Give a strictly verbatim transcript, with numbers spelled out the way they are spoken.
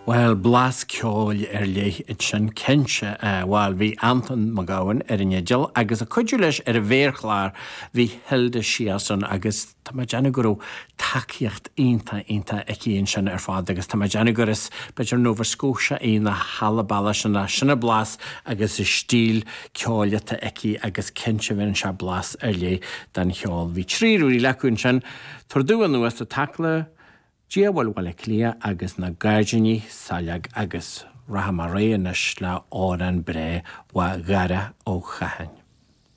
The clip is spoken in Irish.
Well blas ceoil ar leith ansin cinnte bhuel bhí Anton Mac Gabhann ar an fhidil agus ag cuidiú leis ar an mhéarchlár bhí Hilda Searson agus tá mé ag déanamh go raibh tacaíocht iontach iontach aici ansin ar fad agus tá mé ag déanamh gur is b'fhéidir Nova Scotia í na hAlabama sin sin a blas agus is stíl ceoil atá aici agus cinnte bhíonn sé blas ar leith den cheol. Bhí trí rí lecu ansin Tar dú anuas a Tacla, Diabhal Bhaile Átha Cliath agus na Gairdíní Saileog agus rachaidh mé ar aghaidh anois le amhrán breá ó Dharach Ó Catháin.